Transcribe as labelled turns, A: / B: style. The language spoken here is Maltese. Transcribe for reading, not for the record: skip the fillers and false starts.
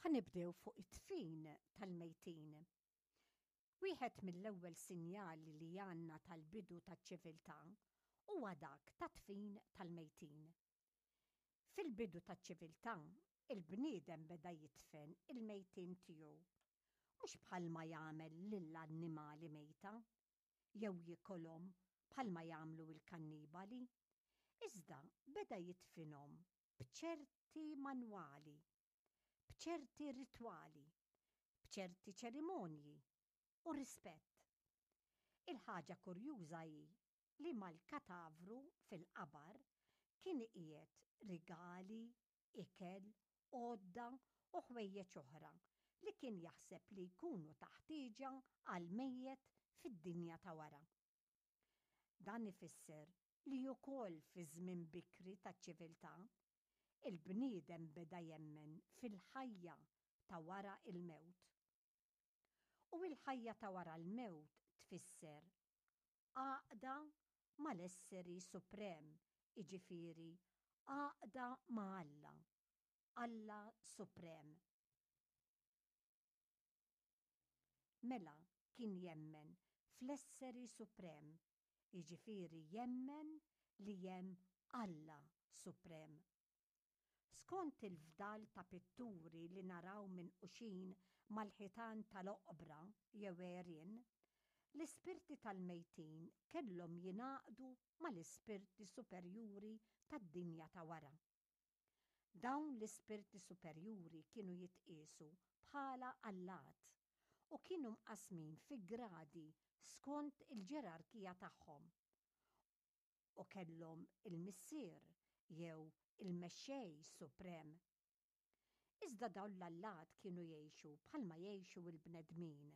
A: Ħa nibdew fuq it-dfin tal-mejtin. Wieħed mill-ewwel sinjali li għandna tal-bidu taċ-ċiviltà huwa dak tad-dfin tal-mejtin. Fil-bidu taċ-ċiviltà, il-bniedem beda jidfen il-mejtin tiegħu, mhux bħalma jagħmel lill-annimali mejta, jew jikolhom bħalma jagħmlu l-kannibali, iżda beda jidfinhom b'ċerti manwali, b'ċerti ritwali, b'ċerti ċerimonji u rispett. Il-ħaġa kurjuża hi li mal-katavru fil-qabar kien iqiegħed rigali, ikel, għodda u ħwejjeġ oħra li kien jaħseb li jkunu ta' ħtieġa għall-mejjet fid-dinja ta' wara. Dan ifisser li ukoll fiż-żmien bikri taċ-ċiviltà, il-bniedem beda jemmen fil-ħajja ta' wara l-mewt. U l-ħajja ta' wara l-mewt tfisser għaqda mal-Esseri Suprem, jiġifieri għaqda ma' Alla, Alla Suprem. Mela kien jemmen fl-Esseri Suprem, jiġifieri jemmen li hemm Alla Suprem. Skont il-fdal ta' pitturi li naraw minquxin mal-ħitan tal-oqbra jew għerien, l-ispirti tal-mejtin kellhom jingħaqdu mal-ispirti superjuri tad-dinja ta' wara. Dawn l-ispirti superjuri kienu jitqiesu bħala allat u kienu mqassmin fi gradi skont il-ġerarkija tagħhom u kellhom il-missier jew il-mexxej suprem. Iżda dawn l-allat kienu jgħixu bħalma jgħixu l-bnedmin.